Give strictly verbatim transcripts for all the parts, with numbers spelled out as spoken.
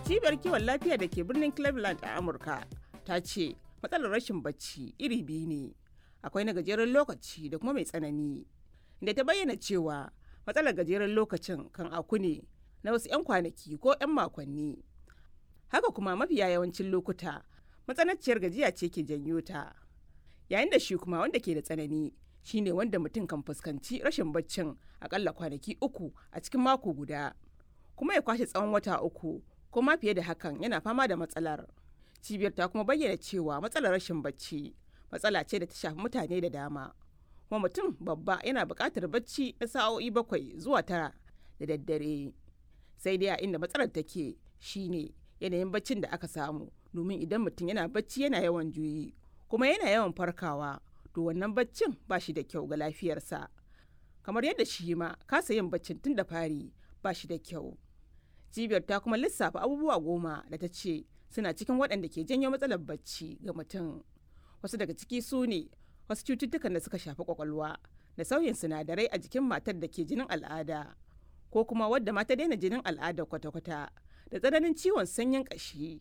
Cibiyar kiwon lafiya da ke birnin Cleveland a Amurka ta ce matsalar rashin bacci iri biyu ne, akwai na gajeren lokaci da kuma mai tsanani. Inda ta bayyana cewa matsalar gajeren lokacin kan auku ne na wasu 'yan kwanaki ko 'yan makonni. Haka kuma mafiya yawancin lokuta matsananciyar gajiya ce ke janyo ta. Yayin da shi kuma wanda ke da tsanani shine wanda mutum kan fuskanci rashin baccin akalla kwanaki uku a cikin mako guda, kuma ya kwashe tsawon wata uku ko ma fiye da hakan yana fama da matsalar. Cibiyar ta kuma bayyana cewa matsalar rashin bacci matsala ce da ta shafi mutane da dama. Kuma mutum babba yana buƙatar bacci na sa'o'i bakwai zuwa tara da daddare. Sai dai a inda matsalar take shine yanayin baccin da aka samu, domin idan mutum yana bacci yana yawan juyi kuma yana yawan farkawa, to wannan baccin ba shi da kyau ga lafiyarsa. Kamar yadda shi ma kasa yin baccin tun da fari ba shi da kyau. Cibiyar ta kuma lissafa abubuwa goma da ta ce suna cikin waɗanda ke janyo matsalar bacci ga mutum. Wasu daga ciki su ne wasu cututtukan da suka shafi kwakwalwa da sauyin sinadarai a jikin matar da ke jinin al'ada ko kuma wadda ma ta daina jinin al'ada kwata-kwata, da tsananin ciwon sanyin ƙashi,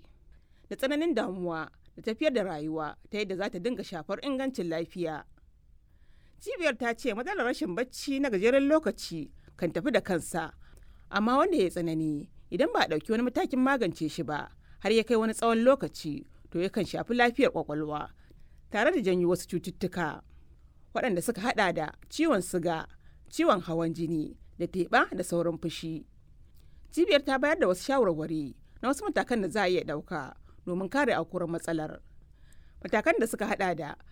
da tsananin damuwa da tafiyar da rayuwa ta yadda za ta dinga shafar ingancin lafiya. Cibiyar ta ce matsalar rashin bacci na gajeren lokaci kan tafi da kansa, amma wanda ya tsanani idan ba a ɗauki wani matakin magance shi ba har ya kai wani tsawon lokaci, to yakan shafi lafiyar kwakwalwa tare da janyo wasu cututtuka waɗanda suka hada da ciwon siga, ciwon hawan jini da teɓa da sauran fushi. Cibiyar ta bayar da wasu shawarwari na wasu matakan da za a iya ɗauka domin kare aukuwar matsalar. Matakan da suka hada da